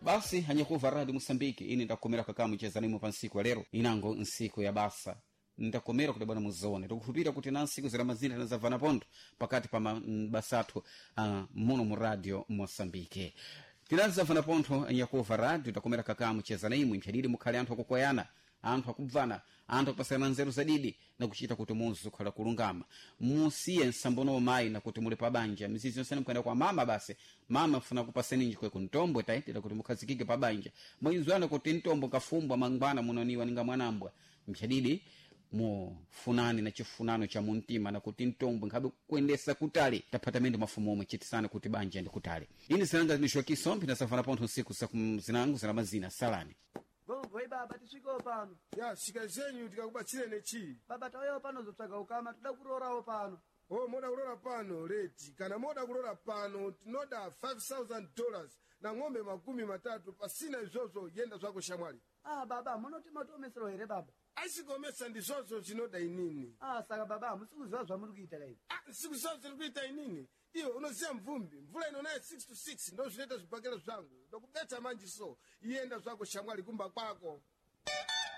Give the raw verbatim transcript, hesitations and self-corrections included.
Basi anyakuva Radio Mosambiki, ine ndakomera kakamu pa nsiku ya lero, inango nsiku ya basa. Ndakomera kuti bwana muzione, tikukhulupirira kuti na nsiku zira mazina tinazavana pontho pakati pa mabasa athu uh, muno mu Radio Mosambike. Tinazavana pontho, anyakuva radio, takomera kakamu cheza imwe. Mphadidi mukhale anthu akukoyana, anthu akubvana, anthu akupasana nzeru zadidi nakuchita kuti muzi ukhala kulungama. Musiye nsambono mayi nakuti muli pabanja, mizizi yonse mukuyenda kwa mama. Basi mama funa kupaseni njikwe kuntombo, taitira kuti mukhazikike pabanja. Mwinzwana kuti ntombo kafumbwa mangwana munoniwa ninga mwanambwa. Mphadidi mufunani na chifunano cha muntima nakuti ntombo nkhabe kuendesa kutali taphatamende mafumu omwe chitisana kuti banja ndi kutali. Ine zinanga ndishokiso mpinasafana pontho nsiku zinangu zina mazina salani. Gogoi baba, tisvikewo pano. Ya, svika zenyu, tikakubatsirene chii? Baba, tauyawo pano zotsvaga ukama, toda kurorawo pano. O, moda kulora pano leti? Kana moda kulora pano, tinoda five thousand dollars na ng'ombe makumi matatu. Pasina izvozvo, yenda zvako shamwari. Ah baba, munoti matiomesero here baba? Aisigomesa, ndizvozvo zvinoda inini. Ah, saka baba hamusi kuziva zvamuri kuita kai? Ah, sikuziva zviri kuita inini? Iwe unoziva mvumbi, mvula inonaya six to six, ndo zvinoita zvibhakera zvangu. Ndokubetsa manje, so iyenda zvako shamwari, kumba kwako.